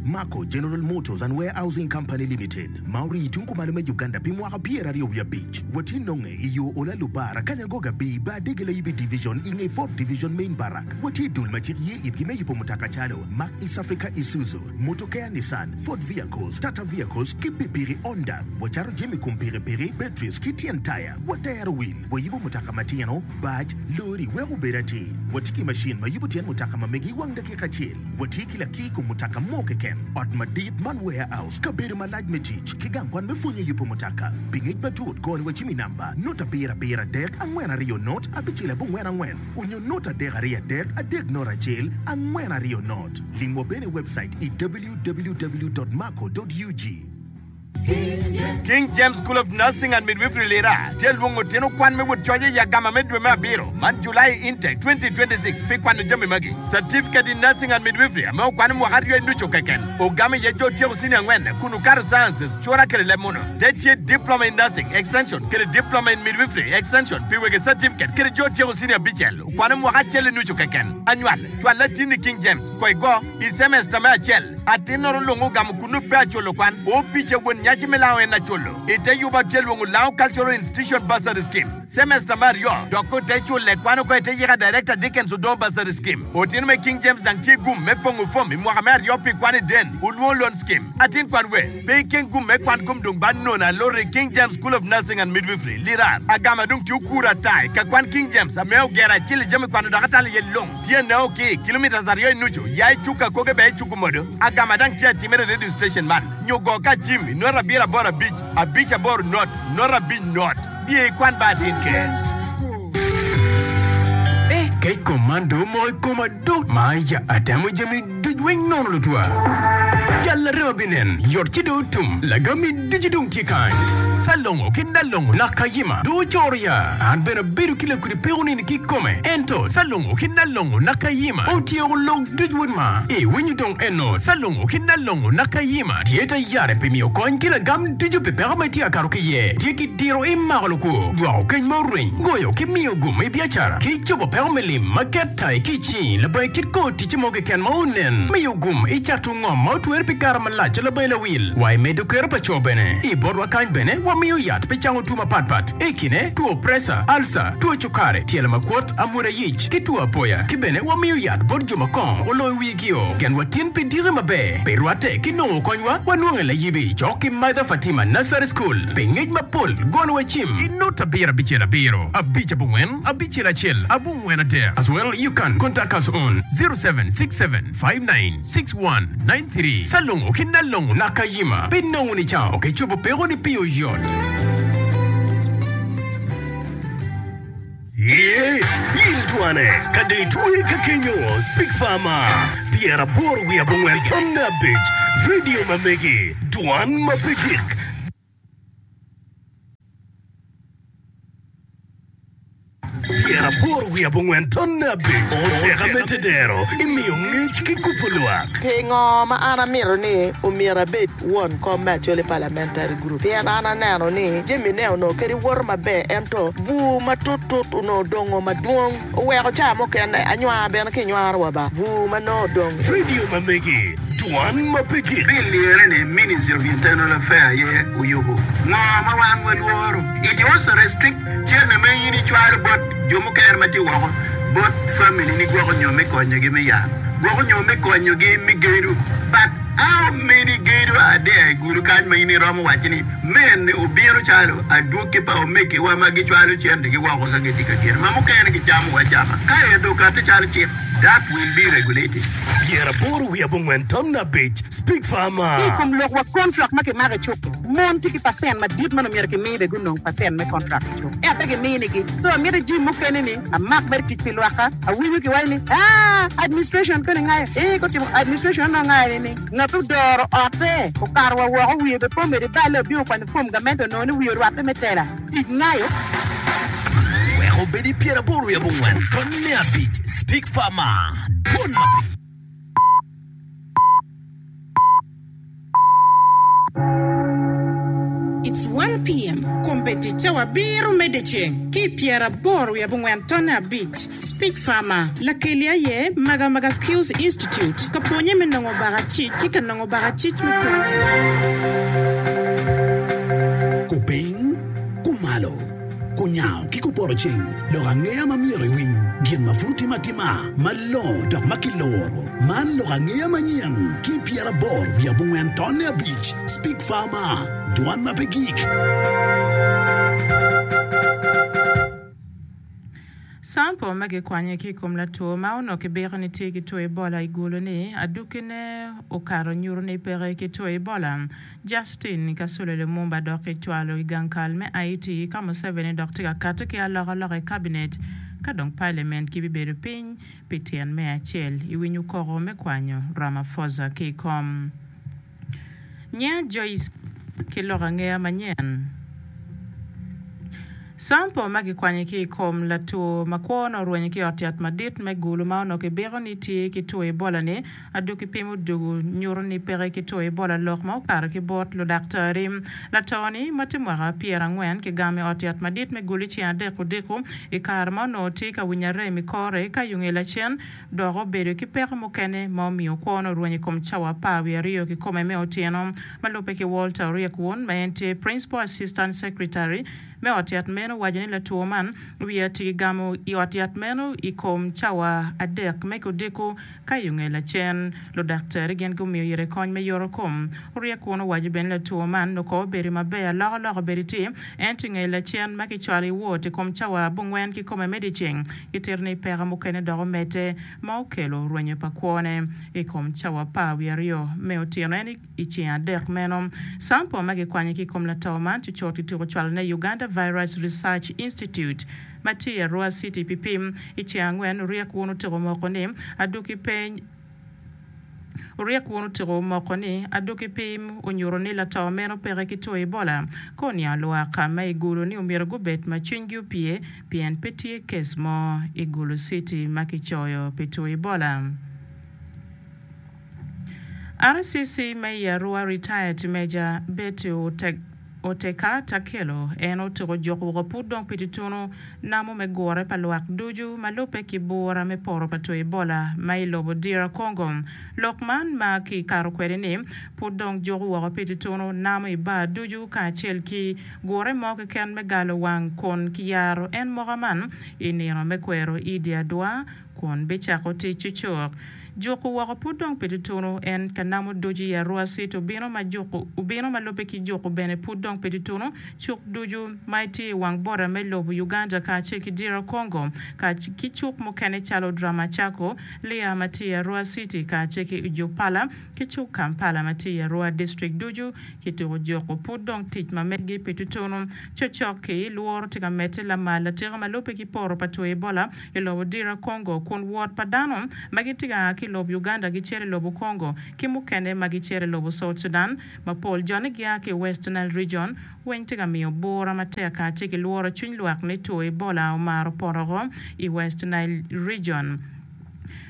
Mako General Motors and Warehousing Company Limited, ma orii tung kumalo me Uganda pi mwaka pyeraryo wiye abic. Watye nonge i yo Ola Lubara, Kanyangoga B, Bar Dege Layibi Division i nge Fort Division Main Barrack. Watye i dul ma cik ye itgi me yubo mutoka calo, Mack East Africa Isuzu, Motokea Nissan, Ford Vehicles, Tata Vehicles ki pikipiki Honda. Wacato jami kom pikipiki, batteries ki tyen taya. Watero wil, wayubo mutoka matino, bac, lori wek obed atir. Watye ki macin ma yubo tyen mutoka ma megi i wang dakika acel. Watye ki lakir kom mutoka mo keken, ot madit man warehouse, kabedo malac me tic, ki gang kwan me pwonyo yubo mutoka. Pi ngec matut, goni wa cim i namba, not abiro abiro adek angwen aryo not abicel abongwen angwen onyo not adek aryo adek adek not acel angwen aryo not. Limwa bene i webcait i www dot mako dot ug. King James School of Nursing and Midwifery Lira tye lwongo tino kwan me wot coc i agama me dwe me abiro man July Intake 2026 pi kwano jami magi, Certificate in Nursing and Midwifery ame okwano mwaka aryo i nucu keken ogamo iye jo otyeko senior angwen kun okato Sciences, Cura kede leb muno. Te tye Diploma in Nursing, Extension, kede Diploma in Midwifery, Extension, pi wegi certificate kede jo otyeko senior abicel okwano mwaka acel i nucu keken. Anywal, cwal latinni King James, ko igo. I cemesta me acel, atinnoro lung ogamo kunnu pe aculo kwan. Opica won nyaci me lango en aculo. I te yub atye lwongo Lango Cultural Institution Bursary Scheme. Cemesta me aryo, dok ote cule kwan oko i te yika Director Dickens Odongo Bursary Scheme. Otino me King James dang tye gum me pongo fom i mwaka me aryo pi kwan i Den Olwongo Loan Scheme. Atin kwan we, pe ikeng gum me kwan kom dong ba nono aloti i King James School of Nursing and Midwifery, Lira. Agama dong tye okuro ata i ka kwan King James ame ogero acel i jami kwano dok atalo iye lung. Tye neo ki kilometres aryo i nucu ya i cuk akoge bene i cuk omodo. Agama dang tye atimere i radio station man nyo go ka cim i not abiro aboro abic abic aboro not not abic not. Biye ikwan ba atin ker. Eh, kec kom man dong omoko i koma do ma ya atemo jami duc weng nono lutwa. Jal larema binen yot ci dong otum, lagami ducu dong tye kany. Salongo ki Nalongo Nakayima dong ocoro ya. An bene abedo ki lakudi peko nini kikome. Ento Salongo ki Nalongo Nakayima otyeko lok duc wod ma. Iwinyo dong eno Salongo ki Nalongo Nakayima tye tayare pi miyo kony ki lagam ducu pi peko ma itye ka kato ki iye. Tye ki diro imako lukwo, dwoko keny ma orweny, goyo ki miyo gum i biacara, ki cobo peko me lim ma ket tai ki i cingi labongo kit kor ticce mo keken ma onen. Miyo gum i cato ngom ma otwere pi kare malac labongo lawil wa i medo kero pa co bene. I botwa kany bene wamiyo yat pi cango two mapat pat, i kine, two presa, alca, two cukari, tyelo makwot, amwoda yic, ki two apoya. Ki bene wamiyo yat bot jo ma kongo oloyo wigio. Genwa tin pi diki maber. Pi rwatte ki nongo konywa, wanwonge layibi cok ki Mother Fatima Nursery School. Pi ngec mapol, gonwa cim i not abiro abicel abiro abic abongwen abicel acel abongwen adek as well you can contact us on 0767596193 Salongo ki Nalongo Nakayima pi nongo nicango ki cobo peko ni pi oyot. Ye, in twane, ka dong itwe ka kenyo, Speak Farmer, pyeraboro wiye abongwen tonne abic, radio ma megi, dwan ma pe gik. Pyeraboro wiye abongwen tonne abic, oteka me tedero, imiyo ngec ki kubo lwak. Pingo ma an amito ni omyero abed won kom me Acholi Parliamentary Group? Pien an aneno ni jami ne onongo kadi woto maber ento bur matut tut onongo odongo madwong oweko ca mukene anywar bene ki nywaro wa ba bur ma nongo odong. Radio ma megi dwan ma pe gik. Bill lire ni Ministry of Internal Affair aye oyubo. Ngo ma wan walworo? It also restrict cente ma in icwalo bot jo mukene ma tye woko bot family ni gwoko nyo me konyogi me yat, gwoko nyo me konyogi me gedo. But how many gedo are there i gudo kany ma in iromo waco ni mene obino calo adwogi pa omegiwa ma gicwalo centegi woko ka gitye ka gedo ma mukene gicamo acama ka ento okati calo cik that will be regulated. Pyeraboro wiye abongwen ton abic Speak Farmer. Ki i kom lok wa kontrak ma kimako i cuk-ki, mon tye ki pacent madit ma nongo myero kimi bene gunong pacent me kontrak i cuk ento pe giminigi. So amito jim mukene ni amak mere tic pi lwakka. Awinyo kiwaco ni aa administration koni ngayo ee gutimo administration onongo ngayo ni ni ngat odoro otte okato wa woko wiye bene pe omedo iballe obino okwanyo fom gamente onongo ni wiye orwatte me tela tic ngayo. Wek obed i pyeraboro wiye abongwen tonne abic Speak Farmer Dwon ma pe. 1 PM, Kombeddi cawa abiro me dyeceng ki i pyeraboro wiye abongwen tonne abic. Speech Farmer, Lakeli aye Magamaga Skills Institute ka pwonye me nongo bakacic ki ka nongo bakacic me pwonye. Kupiny, kumalo, kunyango ki kupoto ceng, lok angeya ma myero iwiny, gin ma pud otime atima, malongo dok ma kiloro. Man lok angeya manyen ki 84 tonne abic, Speak Farmer, dwan ma pe gik. Sampo ma gikwanye ki i kom latwo ma onongo kibiko ni tye ki two Ebola i Gulu-ni, adukkine okato nyuto ni peke ki two Ebola. Justin Kasule Lumumba dok kicwalo i gang kal me IT ka Museveni dok tye ka kati ki alokaloka i kabinet ka dong Parliament gibibedo piny pi tyen me acel i winyo koko me kwanyo Ramaphosa ki i kom. Nyinga Joyce ki lok angeya manyen. Sampo ma kikwanyo ki i kom latwo ma kwone orwenyo ki i ot yat madit me Gulu ma onongo kibiko ni tye ki two Ebola-ni, adwogi pim odwogo nyuto ni peke ki two Ebola lok ma okato ki bot ludaktari. Lato-ni, ma tye mwaka pyerangwen, kigamo i ot yat madit me Gulu i ceng adek odiko i kare ma onongo tye ka winyo arem i kore ka yunge lacen dok obedo ki peko mukene ma omiyo kwone orwenyo i kom cawa apar wiye aryo kikome me otyeno. Ma lubbe ki Walter Oryek Wun, ma en tye Principal Assistant Secretary me ot yat meno owaco ni latwo man wiye ati gigamo i ot yat meno i kom cawa adek me kudiko ka i onge lacen ludaktari gin gumiyo ire kony me yoto kom. Oryek Wun owaco bene ni latwo man noko obedo maber alokaloka obedo tye ento i nge lacen ma kicwalo i wot i kom cawa abongwen kikome me dyeceng Gitito ni peko mukene dok omedde ma okelo rwenyo pa kwone i kom cawa apar wiye aryo me otyeno en i ceng adek meno. Sample ma gikwanyo ki i kom lato man cucut kituko cwalone i Uganda Virus Research Institute ma tye i Arua City pi pim. I ceng angwen, Oryek Wun otyeko moko ni adwogi pe Oryek wun otyeko moko ni adwogi pim onyuto ni lato meno peke ki two Ebola. Ka oniango lwak ma i Gulu ni omyero gubed ma cwinygi opye pien pe tye kes mo i Gulu City ma kicoyo pi two Ebola. RCC ma i Arua Retired Major Betty Oteka Takelo en otyeko juko woko pud dong pi tutunu namo me gure pa lwak ducu ma lubbe ki bura me poto pa two Ebola ma i lobo DR Congo. Lok man ma ki kato kwede ni pud dong juko woko pi tutunu namo i bar ducu kacel ki gure mo keken me galo wang kun ki yaro en moka man i nino me kwero Idi Adwa kun bicako tic cucuk. Juko woko pud dong pi tutunu en ka namo ducu i Arua City obino ma juko obino ma lubbe ki juko bene pud dong pi tutunu cuk ducu ma tye i wang bota me lobo Uganda kacel ki DR Congo ka ki cuk mukene calo Dramacako, Lea ma tye i Arua City kacel ki Ujupala ki cuk Kampala ma tye i Arua District ducu kituko juko pud dong tic ma meggi pi tutunu. Cocok-ki, lworo tye ka medde lamal atika ma lubbe ki poto pa two Ebola i lobo DR Congo kun wot pa dano ma gitye ka a ki i lobo Uganda gicito i lobo Congo ki mukene ma gicito i lobo South Sudan ma pol jone gia ki i West Nile Region weng tye ka miyo bura matek kacel ki lworo cwiny lwak ni two Ebola omaro poto oko i West Nile Region.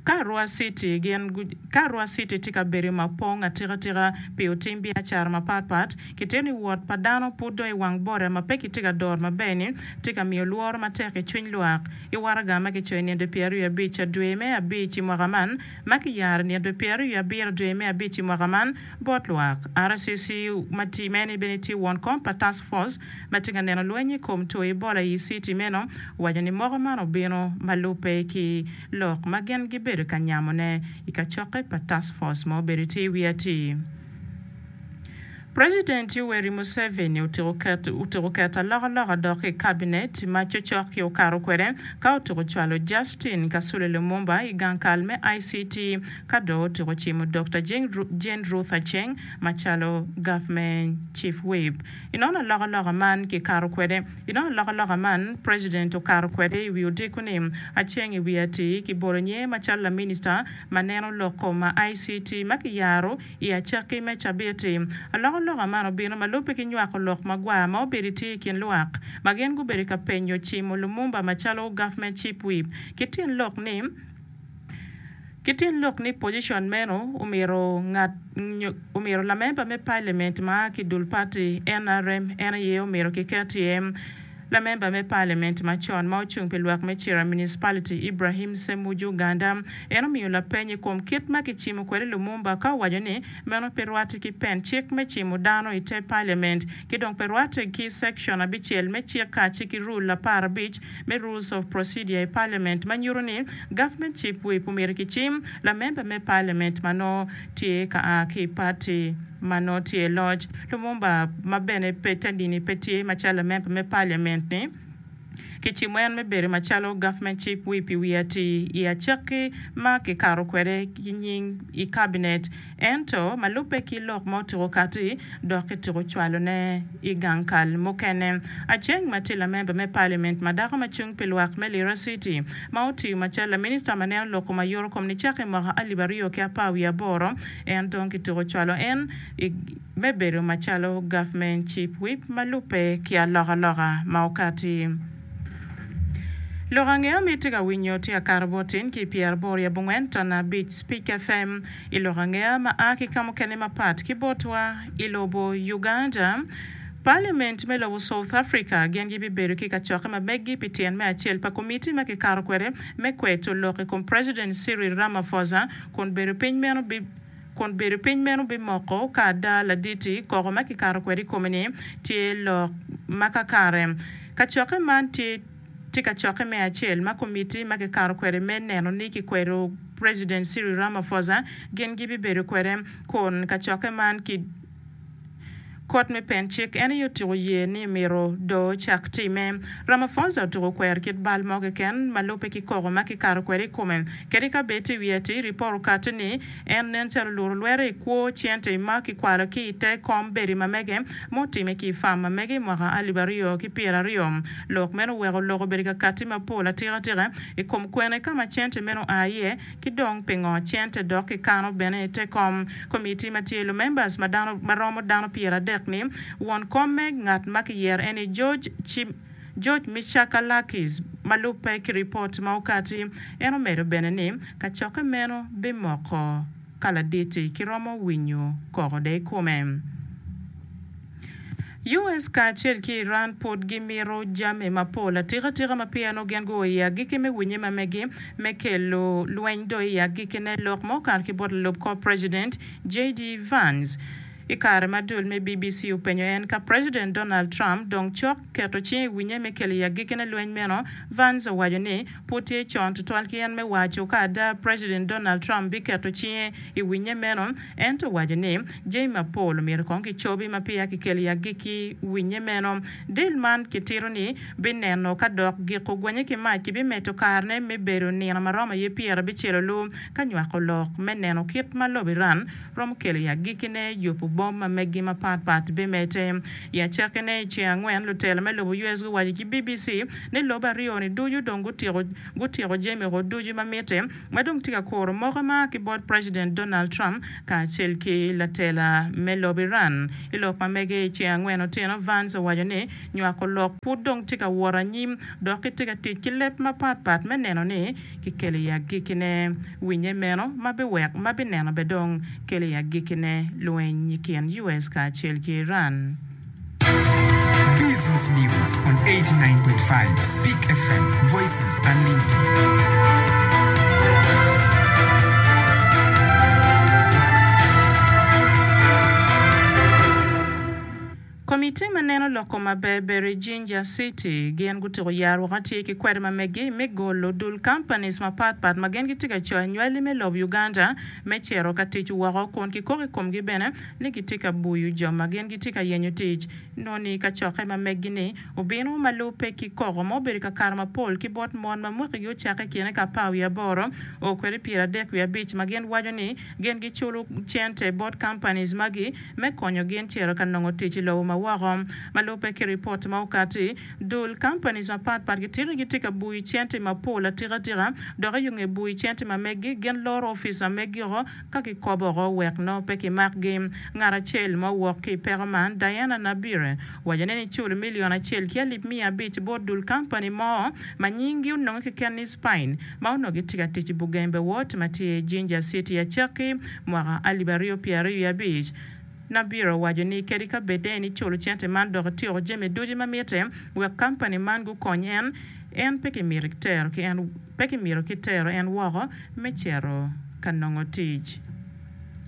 Ka Arua City gin ka Arua City tye ka bedo ma pong atika tika pi otim biacara mapat pat, kitito ni wot pa dano pud dong i wang boda ma pe kitye ka doro maber ni tye ka miyo lworo matek i cwiny lwak. I waraga ma kicoyo i nino 25 dwe me abic i mwaka man, ma kiyaro i nino 27 dwe me abic i mwaka man bot lwak, RCC ma tye meno bene tye won kom pa Task Force ma tye ka neno lweny i kom two Ebola i citi meno, owaco ni moko man obino ma lubbe ki lok ma gin gibedo ka nyamone i kacokke pa Task Force ma obedo tye i wi atir. President Yoweri Museveni otyeko keto alokaloka dok i kabinet ma cocok-ki okato kwede ka otyeko cwalo Justine Kasule Lumumba i gang kal me ICT ka dong otyeko cimo Dokta Jane Ruth Aceng macalo Government Chief Whip. I nono alokaloka man kikato kwede I nono alokaloka man President okato kwede i wi odiko ni Aceng i wi atir kibolo nyinge macalo laminista ma neno lok kom ma ICT ma kiyaro I acakki me cabit-ti, alokaloka man obino ma lubbe ki nywako lok magwar ma obedo tye i kin lwak ma gin gubedo ka penyo cimo Lumumba macalo Government Chief Whip ki tyen lok ni. Ki tyen lok ni pocicon meno omyero ngat omyero lamemba me parliament ma a ki dul party nrm en aye omyero kiket iye. Lamemba me parliament macon ma ocung pi lwak me Cira Municipality Ibrahim Ssemujju Nganda en omiyo lapeny i kom kit ma kicimo kwede Lumumba ka owaco ni meno pe rwatte ki pen cik me cimo dano i te parliament ki dong pe rwatte ki section abicel me cik kace ki rule 15 me Rules of Procedure i Parliament ma nyuto ni Government Chief Whip omyero kicim lamemba me Parliament ma nongo tye ka a ki i party ma nongo tye i loc. Lumumba ma bene pe te dini pe tye macalo lamemba me Parliament ni kicimo en me bedo macalo Government Chief Whip i wi atir i acakki ma kikato kwede ki nying i Cabinet. Ento, ma lubbe ki lok ma otuko kati, dok kituko cwalone i gang kal mukene. Aceng ma tye lamemba me Parliament ma dako ma cung pi lwak me Lira City, ma otiyo macalo laminista ma neno lok kom ayuto kom nicake i mwaka alip aryo ki apar wiye aboro, en dong kituko cwalo en i me bedo macalo Government Chief Whip ma lubbe ki alokaloka ma okati. Lok angeya ma itye ka winyo tye akato bot tin ki i pyeraboro i abongwen tonna abic Speak FM. I lok angeya ma a ki ka mukene mapat ki botwa i lobo Uganda, Parliament me lobo South Africa gin gibibedo ki kacokke ma meggi pi tyen me acel pa komiti ma kikato kwede me kweto lok i kom President Cyril Ramaphosa kun bedo piny meno kun bedo piny meno bimoko ka ada laditi koko ma kikato kwede i kome-ni tye lok ma kakare. Kacokke man tye Tye kacokke me acel ma komiti ma kikato kwede me neno ni kikwedo President Cyril Ramaphosa gin gibibedo kwede kun kacokke man ki Kot me Pen Cik en aye otyeko ye ni myero doo ocak time. Ramaphosa otyeko kwero kit bal mo keken ma lubbe ki koko ma kikato kwede i kome. Kadi ka bed tye i wiye atir, ripot okatti ni en nen calo oluto lwete i kwo cente ma kikwalo ki i te kom bedo ma mege ma otime ki i fam ma mege i mwaka 2020. Lok meno oweko lok obedo ka katti mapol atika tika i kom kwene ka ma cente meno oa iye ki dong pingo cente dok kikano bene i te kom. Komiti ma tye lumembers ma dano ma romo dano 30 ni won kom me ngat ma kiyero en ni George George Michakalakis ma lubbe ki ripot ma okati. En omedo bene ni kacokke meno bimoko ka ladit-ti kiromo winyo koko de i kome. US kacel ki Iran pud gimito jami mapol atika tika ma peya nongo gin guo i agikki me winye ma megi me kelo lweny dong i agikkine, lok ma okato ki bot lalub kor President JD Vance. I kare ma dul me BBC openyo en ka President Donald Trump dong cok keto cinge i winye me kelo i agikkine lweny meno, Vance owaco ni pud tye con tutwal ki en me waco ka ada President Donald Trump biketo cinge i winye meno, ento owaco ni jami mapol omyero kong kicobi ma peya kikelo i agikki winye meno. Deal man kitito ni bineno ka dok giko gwenye ki mac kibimedo karene me bedo nino ma romo aye pyerabicel olu ka nywako lok me neno kit ma lobo Iran romo kelo i agikkine yubo bom ma megi mapat pat bimedde. I acakkine i ceng angwen, lutela me lobo US guwaco ki BBC ni lobe aryo-ni ducu dong gutyeko jami woko ducu ma mitte ma dong tye ka kuro moko ma a ki bot President Donald Trump kacel ki latela me lobo Iran. I lok ma mege i ceng angwen otyeno, Vance owaco ni nywako lok pud dong tye ka wot anyim dok kitye ka tic ki leb mapat pat me neno ni kikelo i agikkine winye meno ma biweko ma bineno bene dong kelo i agikkine lweny i kin US kacel ki Iran. Business News on 89.5 Speak FM, Voices Unlimited. Komitti ma neno lok kom maber bedo i Jinja City gin gutuko yar woko atir ki kwede ma megi me golo dul companies mapat pat ma gin gitye ka coyo anywali me lobo Uganda me cito ka tic woko kun kikoko i komgi bene ni gitye ka buyo jo ma gin gitye ka yenyo tic. Nongo ni kacokke ma megi ni obino ma lubbe ki koko ma obedo ka kato mapol ki bot mon ma mwakigi ocakke i kine ka apar wiye aboro o kwede 35 ma gin waco ni gin giculo cente bot companies magi me konyo gin cito ka nongo tic i lobo ma woko. woko. Ma lubbe ki ripot ma okati, dul companies mapat pat gitito ni gitye ka buyo cente mapol atika tika dok i yo nge buyo cente ma meggi gin loro opic ma meggi oko ka gikobo oko wek nongo pe kimakgi. Ngat acel ma owok ki i peko man, Diana Nabire, owaco ni niculo milion acel ki alip miya abic bot dul kampani mo ma nyinggi ononge keken ni Spine ma onongo gitye ka tic i Bugembe Ward ma tye i Jinja City acakki mwaka alip aryo pyeraryo wiye abic. Nabire owaco ni kadi ka bed en iculo cente man dok ityeko jami ducu ma mitte wek kampani man gukony en, en pe kimito ki tero en woko me cito ka nongo tic.